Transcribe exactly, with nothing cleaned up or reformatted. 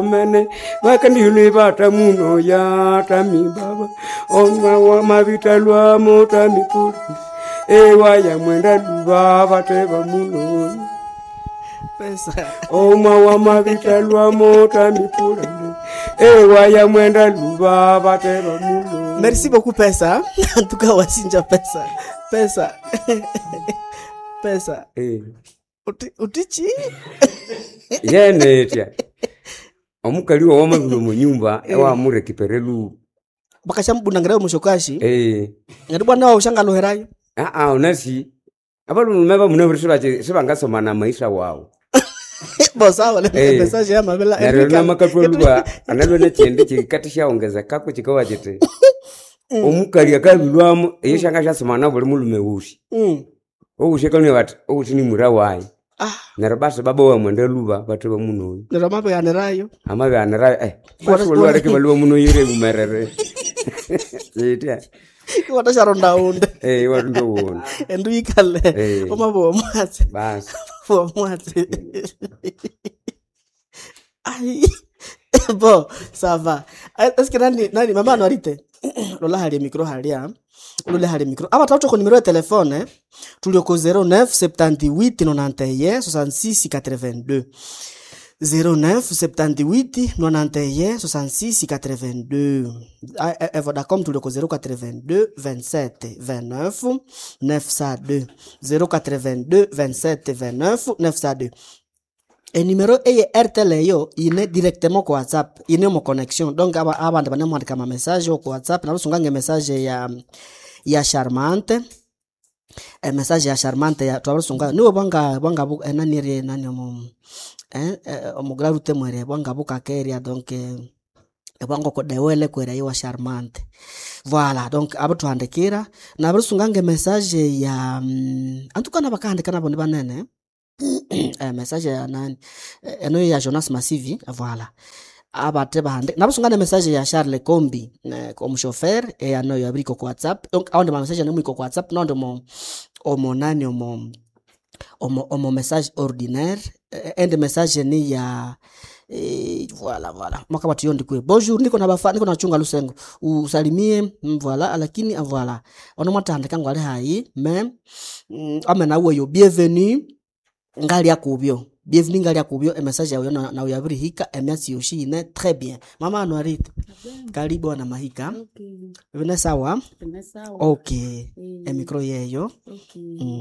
Mene bakandilwe batamuno ya tami baba omwa wa mabitalwa motami puli ewa ya mwenda luba bateba muno Pesa. omwa wa mabitalwa motami puli ewa ya mwenda luba bateba muno. Merci beaucoup Pesa. En tout cas wasinja Pesa. Pesa. Pesa. Eh. Uti, utichi? Yene etya omukali wawa mabilo munyumba ewamurekipere lu Bakashambunangira mushokashi. eh Ngati bwana wawe ushangaluherayo. ah ah unasi abalume bamuna sibangasomana maisha wawo. Bo sawa le Eh. message ya mabela. Neryo namakatwalwa analwe nekyindi kikati syaongezekako kikawa kiti omukali akabilwamo iyo syanga syasomana buli mulume wosi. Mm. Owosi akalwa bati owosi ni mura wayi. Ah, Neryo basi baba wamwenda luba bate bamunoyi. nero mabeanirayo. Amabianirayo eh Wara- basi walwareke balwa munoyire bumerere itya. Watasharonda unde. Eh warundo wona. Endu ikale. Eh. Omabo mwatsi. Basi. Bo mwatsi. Ai. Bon, ça va. Est-ce que nani nani mama anuarite? Lola hali micro halia. Lola hali micro. Aba taucho ko numéro ya téléphone eh. Tulioko zéro neuf soixante-dix-huit quatre-vingt-onze soixante-six quatre-vingt-deux. zéro neuf soixante-dix-huit quatre-vingt-onze soixante-six quatre-vingt-deux. Ah, eh, eh, Vodacom tulioko zéro quatre-vingt-deux vingt-sept vingt-neuf neuf cent deux. zéro quatre-vingt-deux vingt-sept vingt-neuf neuf cent deux. E numéro eye R T L eyo ine directement ku WhatsApp, ine mo connexion, donc aba abandu banemwandika ma message ku WhatsApp nalusungange message ya ya Charmante, e message ya Charmante ya twabalusunga niwe bwanga bwanga bu- eh, nani rie nani omu eh, eh, omugrarute mwere bwanga bukakeria, donc eh, bwanga kodewele kwera iwa Charmante. Voilà, donc abatuhandikira nabalusungange message ya mm, antuka nabakahandika nabo ni banene, eh, message ya nani, eh, eno ya Jonas Masivi. Voilà, abate bahande nabusungane message ya Charles Kombi, eh, omushofer eh, ano yabiriko ku WhatsApp. Donc awo ndi ma message anemwiko ku WhatsApp nondi omo omo nani omo omo omo message ordinaire, eh, ende message ni ya eh, voilà voilà mwaka watu yondi kwe bonjour, niko na bafa niko nachunga lusengo usalimie mm, voilà, lakini ah, voilà ono mwatandika ngwale hayi me mm, ame nawe yo bienvenue ngali akubyo bienvenue ngali akubyo e message yawe na, na uyabirihika emyatsi yoshi ine. Très bien, mama Anuarite, karibu ana mahika. Okay. Bine sawa? Tuna sawa. Okay. Eh, Emikro yeyo. Okay. Mm.